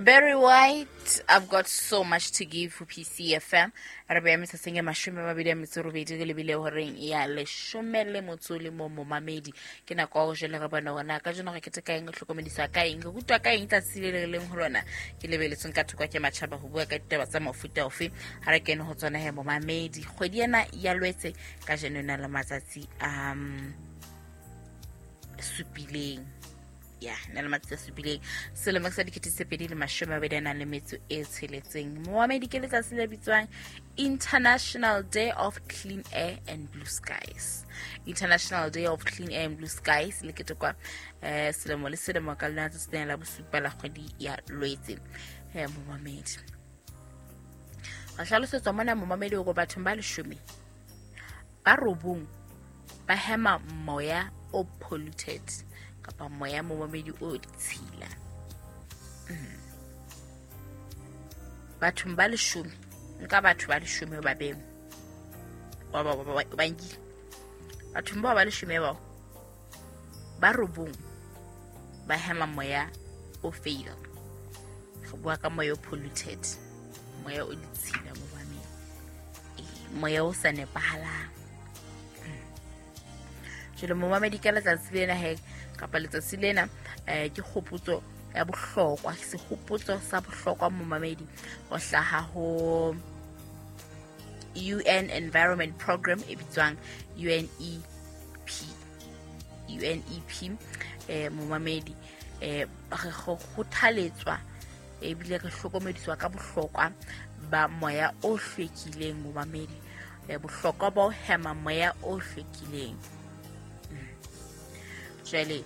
Barry White, I've got so much to give for PCFM. Re beya metsatsing e 28 re lebile horeng ya 11 momamedi. Ke nako ya go jele re bona hore na kajeno re keteka eng, re hlokomedisa ka eng, re rutwa ka eng tsatsi le le leng ho lona. Ke lebeletsweng ka thoko ke matjhaba ho bua ka ditaba tsa mofuta ofe. Ha re kene ho tsona he momamedi. Kgwedi ena ya Lwetse kajeno e na le matsatsi a supileng. Ya na le matsatsi a supileng selemo sa 2026. Moamedi, ke letsatsi le bitswang International Day of Clean Air and Blue Skies. International Day of Clean Air and Blue Skies le ketekwa selemo le selemo ka lona tsatsi lena la bosupa la kgwedi ya Lwetse. Momamedi, ra hlalosetswa mona, momamedi, hore bathong ba 10, ba 9 ba hema moya o polluted kapa moya, momamedi, o ditshila. Bathong ba 10, nka batho ba 10 ba beng ba nkile, bathong bao ba 10 bao, ba 9 ba hema moya o fail. Re bua ka moya o polluted, moya o ditshila, momamedi, moya o sa nepahalang. Jwale momamedi, ka letsatsi lena he kapa letsatsi lena, ke kgopotso ya bohlokwa, sehopotso sa bohlokwa, momamedi, ho hlaha ho UN Environment Program e bitswang UNEP. UNEP, momamedi, re kgothaletswa ebile re hlokomediswa ka bohlokwa ba moya o hlwekileng, momamedi, bohlokwa ba ho hema moya o hlwekileng. Jwale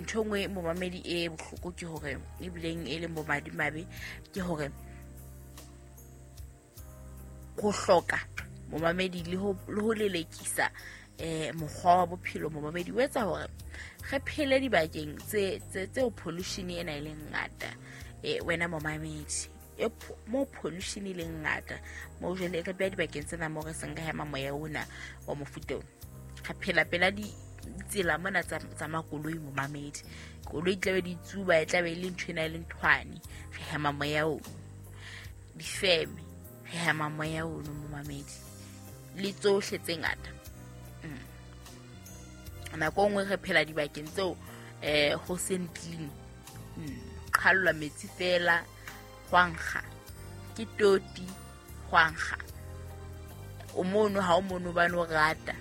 ntho e nngwe, momamedi, e bohloko ke hore ebileng e leng bomadimabe ke hore ho hloka, momamedi, le ho lelekisa mokgwa wa bophelo, momamedi, o etsa hore re phele dibakeng tse tseo pollution ena e leng ngata. Wena momamedi, mo pollution e leng ngata mo, jwale re beha dibakeng tsena mo re seng re hema moya ona wa mofuta ona. Re phela pela ditsela mona tsa makoloi, momamedi. Koloi tlabe di tsuba, e tlabe e le ntho ena e le nthwane, re hema moya ono. Difeme, re hema moya ono, momamedi, le tsohle tse ngata. Nako e nngwe re phela dibakeng tseo ho seng clean, qhallwa metsi fela, hwankga ke toti, hwankga o mono. Ha o mono hobane o rata,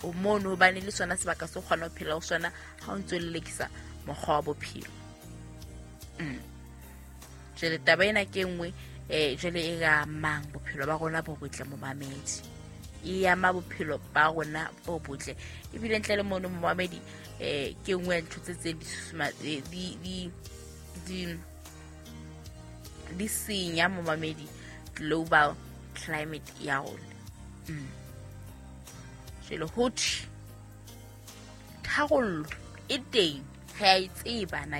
o mono hobane le sona sebaka se o kgona ho phela ho sona ha o ntso lelekisa mokgwa wa bophelo. Jwale taba ena ke nngwe jwale e ka amang bophelo ba rona bo botle, momamedi, e ama bophelo ba rona bo botle. Ebile ntle le mono, momamedi, ke nngwe ya ntho tse tse di susuma di senya, momamedi, global climate ya rona. Jwale ho thwe tharollo e teng, re a e tseba na.